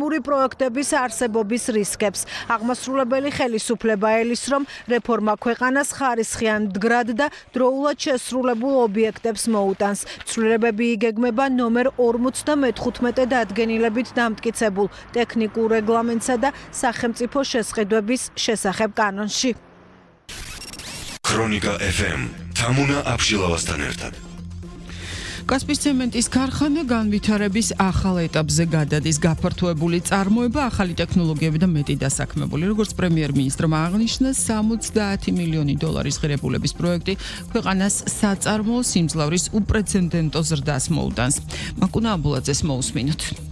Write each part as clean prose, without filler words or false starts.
პრობლემური პროექტების არსებობის რისკებს. აღმასრულებელი ხელისუფლება ელის, რომ რეფორმა ქვეყანას ხარისხიან მდგრად და დროულად შესრულებულ ობიექტებს მოუტანს. ცვლილებები იგეგმება ნომერ 54 დადგენილებით დამტკიცებულ ტექნიკურ რეგლამენტსა და სახელმწიფო შესყიდვების შესახებ კანონში. ქრონიკა FM თამუნა აბშილავასთან ერთად. კასპის ცემენტის ქარხანა განვითარების ახალ ეტაპზე გადადის. გაფართოებული წარმოება, ახალი ტექნოლოგიები და მეტი დასაქმებული. როგორც პრემიერ-მინისტრმა აღნიშნა, 70 მილიონი დოლარის ღირებულების პროექტი ქვეყანას საწარმოო სიმძლავრის უპრეცედენტო ზრდას მოუტანს. მაკუნა აბულაძეს მოусმინოთ.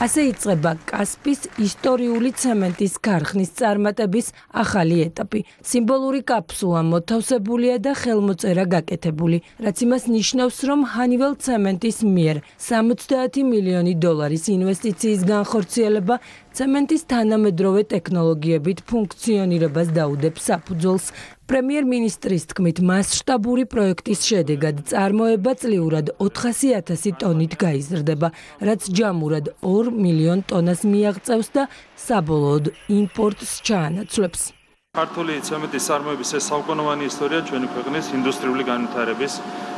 ასე იწყება კასპის ისტორიული ცემენტის ქარხნის წარმატების ახალი ეტაპი. სიმბოლური კაფსულა მოთავსებულია და ხელმოწერა გაკეთებული, რაც იმას ნიშნავს, რომ ჰანიվել ცემენტის მიერ 70 მილიონი დოლარის ინვესტიციის განხორციელება ცემენტის თანამედროვე ტექნოლოგიებით ფუნქციონირებას დაუდებს საფუძველს. პრემიერ-მინისტრის თქმით, მასშტაბური პროექტის შედეგად წარმოება წლიურად 400,000 ტონით გაიზრდება, რაც ჯამურად 2 მილიონ ტონას მიაღწევს და საბოლოოდ იმპორტს ჩაანაცვლებს. ქართული ცემენტის წარმოების ეს საუკუნოვანი ისტორია ჩვენი ქვეყნის ინდუსტრიული განვითარების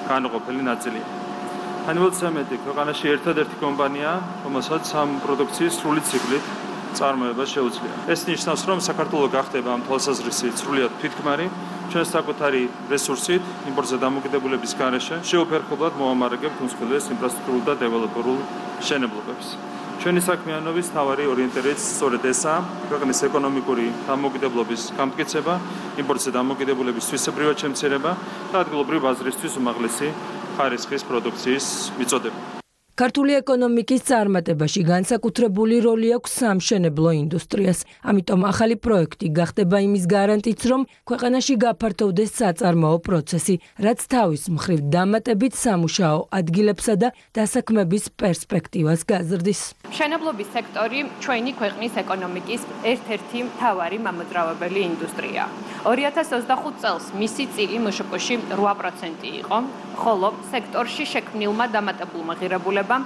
განუყოფელი ნაწილია. ჰანიվել ცემენტი ქვეყანაში ერთადერთი კომპანიაა, რომელსაც ამ პროდუქციის სრული ციკლით წარმოება შეუძლია. ეს ნიშნავს, რომ საქართველო გახდება ამ თვალსაზრისით სრულიად თვითქმარი, ჩვენს საკუთარი რესურსით, იმპორტზე დამოკიდებულების გარეშე, შეუფერხებლად მოამარაგებთ უმსხვილეს ინფრასტრუქტურულ და დეველოპერულ მშენებლობებს. ჩვენი საქმიანობის მთავარი ორიენტირებაც სწორედ ესაა, ქვეყნის ეკონომიკური დამოკიდებულების გამტკიცება, იმპორტზე დამოკიდებულების თვისებრივად შემცირება და ადგილობრივ ბაზრისთვის უმაღლესი ხარისხის პროდუქციის მიწოდება. ქართული ეკონომიკის წარმატებაში განსაკუთრებული როლი აქვს სამშენებლო ინდუსტრიას. ამიტომ ახალი პროექტი გახდება იმის გარანტიც, რომ ქვეყანაში გაფართოვდეს საწარმოო პროცესი, რაც თავის მხრივ დამატებით სამუშაო ადგილებსა და დასაქმების პერსპექტივას გაზრდის. მშენებლობის სექტორი ჩვენი ქვეყნის ეკონომიკის ერთ-ერთი მთავარი მამოძრავებელი ინდუსტრია. 2025 წელს მისი წილი მშპ-ში 8% იყო, ხოლო სექტორში შექმნილმა დამატებულმა ღირებულებამ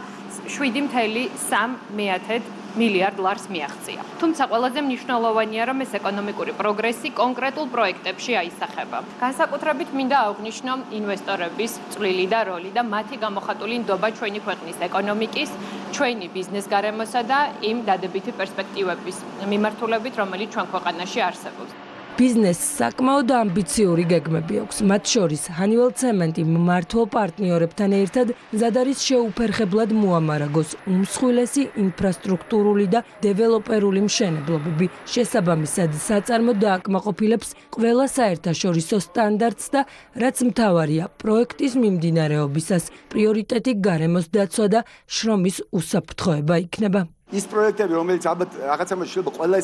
7,3 მილიარდ ლარს მიაღწია. თუმცა ყველაზე მნიშვნელოვანია, რომ ეს ეკონომიკური პროგრესი კონკრეტულ პროექტებში აისახება. განსაკუთრებით მინდა აღვნიშნო ინვესტორების წვლილი და როლი და მათი გამოხატული ნდობა ჩვენი ქვეყნის ეკონომიკის, ჩვენი ბიზნეს გარემოსა და იმ დადებითი პერსპექტივების მიმართულებით, რომელიც ჩვენ ქვეყანაში არსებობს. ბიზნესს საკმაოდ ამბიციური გეგმები აქვს. მათ შორის ჰანიվել ცემენტი მმართველ პარტნიორებთან ერთად მზად არის შეუფერხებლად მოამარაგოს უმსხვილესი ინფრასტრუქტურული და დეველოპერული მშენებლობები. შესაბამისად, საწარმო დააკმაყოფილებს ყველა საერთაშორისო სტანდარტს და რაც მთავარია, პროექტის მიმდინარეობისას პრიორიტეტი გარემოს დაცვა და შრომის უსაფრთხოება იქნება. ის პროექტები, რომელიც ალბათ რაღაცა შეიძლება ყველა